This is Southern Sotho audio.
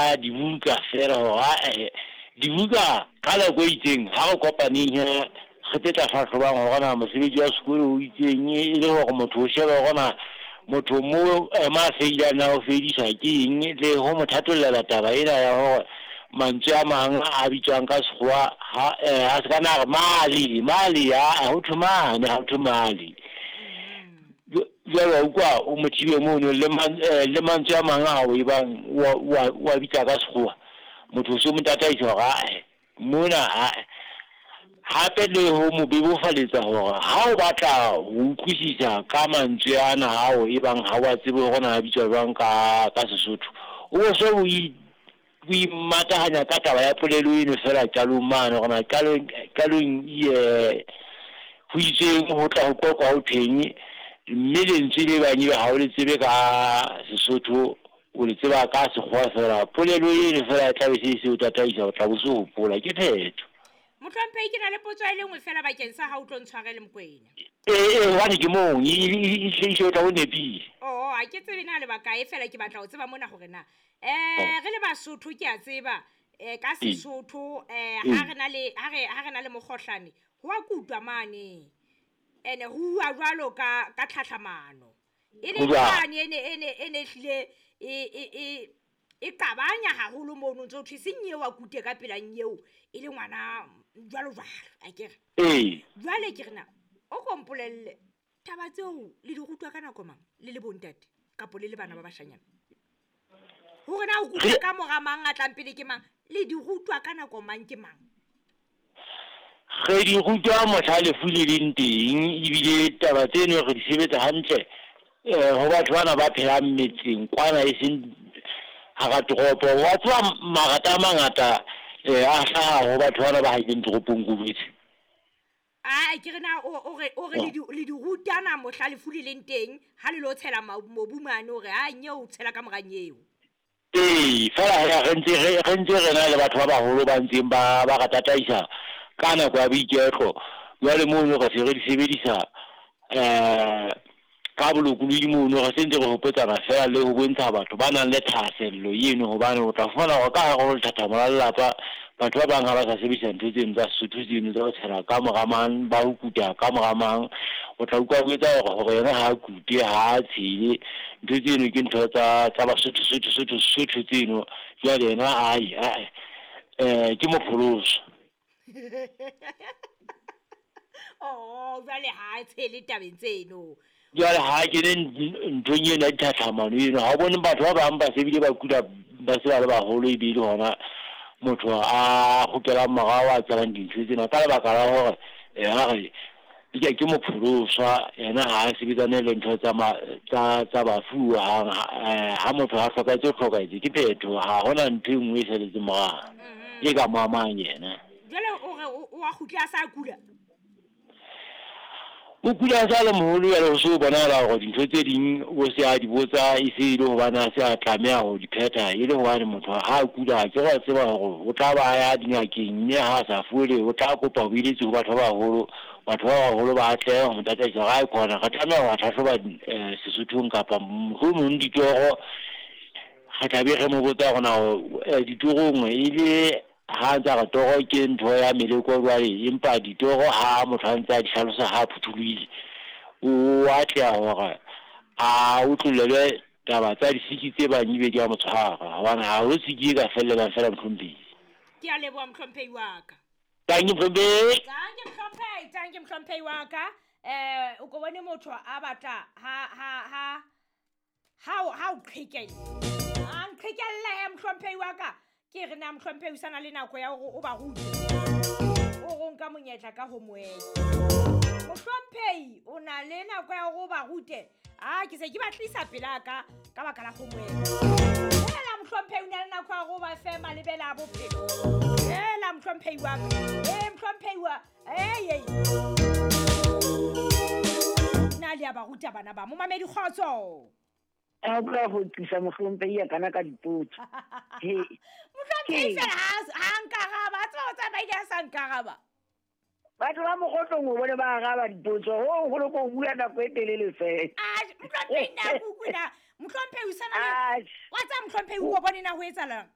ya dibuka fela hore ae dibuka ka nako e itseng ha re kopaneng he re tse tla hlahlobang hore na mosebetsi wa sekolo o itseng e le hore motho o shebe hore na motho mo ma feilang na o feidiswa ke eng le ho mo thatollela taba ena ya hore mantswe a mang a bitswang ka sekgowa ha a se ka na re male male a ho thwe mane ha ho thwe male. Jwale wa utlwa o mo thibe mono le le mantswe a mang ao e bang wa bitsa ka sekgowa motho o se mo tataisa hore ae mona ae. Hape le ho mo bebofaletsa hore ha o batla ho utlwisisa ka mantswe ana ao e bang ha wa tsebe hore na a bitswa jwang ka Sesotho, o so o imatahanya ka taba ya polelo eno fela qalong mane hore na qalong ho itseng ho tla ho qoqwa ho thweng, mme lentswe le bang ebe ha o le tsebe ka Sesotho o le tseba ka sekgowa fela, polelo eno fela e tla be se se o tataisa, o tla bo se hopola ke phetho. Mohlomphehi, ke na le potso e le nngwe fela bakeng sa ha o tlo ntshwarele Mokoena. Ee, hobane ke mong e o tla o nepile. Oh, ha ke tsebe na lebaka e fela ke batla ho tseba mona hore na re le Basotho ke a tseba ka Sesotho ha re na le ha re na le mokgohlane ho a kutwa mane ene ho uwa jwalo ka tlhatlhamano e le mane ene hlile e qabanya haholo mono ntso thwe seng eo a kute ka pela nyeo e le ngwana jwalo jwalo a ke re. Jwale ke re na o kompolelle taba tseo le di rutwa ka nako mang le le bontate kapo le le bana ba bashanyana hore na o kutwa ka mora mang a tlang pele ke mang le di rutwa ka nako mang ke mang? Re di rutwa mohla lefu le leng teng, ebile taba tseno re di sebetsa hantle ho batho bana ba phelang metseng kwana e seng hara toropo. Wa tseba marata a mangata a hlaha ho batho bana ba haileng toropong ko jwetse. Ai ke re na o re le di rutana mohla lefu le leng teng ha le lo tshela mobu mane hore ha nyeo o tshela ka mora nyeo. Ee, fela re ntse re na le batho ba baholo ba ntseng ba re tataisa ka nako ya boiketlo. Jwale mono re se re di sebedisa ka bolokolohi mono, re se ntse re hopotsana fela le ho bontsha batho ba nang le thahasello eno, hobane o tla fumana hore ka hare ho lethathamo la lelapa batho ba bang ha ba sa sebedisa ntho tseno tsa Sesotho tseno tsa ho tshela ka mora mang, ba ho kuta ka mora mang. O tla utlwa o etsa hore yena ha a kute ha a tshele, ntho tseno ke ntho tsa Basotho Sotho Sotho Sotho tseno. Jwale yena ai ke mopholoso. Oh, jwale ha tshele tabeng tseno. Jwale ha kene nthong eno ya dithatlhamano eno, ha o bone batho ba bang ba se bile ba kula ba se ba le baholo, ebile hona motho a kgutlelang morao a tsebang dintho tsena ka lebaka la hore a re ke mopholoswa, yena ha a sebetsane le ntho tsa bafu hang. Ha motho a hlokahetse o hlokahetse ke phetho, ha hona ntho e nngwe e saletseng morao e ka mo amang yena. Jwale o re o a kgutla a sa kula? O kula a sa le moholo, jwale ho se ho bonahala hore dintho tse ding o se a di botsa e se e le hobane a se a tlameha ho di phetha, e le hobane motho ha a kula ke wa tseba hore o tla ba ya dingakeng, mme ha a sa fole o tla kopa boeletsi ho batho ba baholo. Batho ba baholo ba atleha ho mo tataisa hore ae khona re tlameha ho hlahloba Sesothong kapa mohlomong ditoro. Re tla be re mo botsa hore na ditorong e le ha ntse a re toro ke ntho ya meleko jwale, empa ditoro ha motho a ntse a di hlalosa ha phuthulohile o atleha hore a utlollelwe taba tsa disiki tse bang ebe di a mo tshwara, hobane ha ho siki e ka fellelang fela mohlomphehi. Ke a leboha mohlomphehi wa ka. Thank you mohlomphehi. Thank you mohlomphehi, thank you mohlomphehi wa ka. O ko bone motho a batla ha o qhekella. A nqhekella he mohlomphehi wa ka. Ke re na mohlomphehi o sana le nako ya hore o ba rute. O ro nka monyetla ka ho moela. Mohlomphehi o na le nako ya hore o ba rute. Ah, ke se ke ba tlisa pela ka baka la ho moela. Hela mohlomphehi o na le nako ya hore o ba fe malebela a bophelo. Hela mohlomphehi wa ka. Mohlomphehi wa hey. Na le a ba ruta bana ba momamedi kgotso. A bua ho tlisa mohlomphehi kana ka dipotso. Mohlomphehi fela ha nkaraba, tseba o tsamaile a sa nkaraba. Batho ba Mokgotlong o bone ba araba dipotso, ho holo ko bua nako e telele fela. Ah, mohlomphehi na kukuna, mohlomphehi o sana le wa tsa mohlomphehi o bone na ho etsahalang?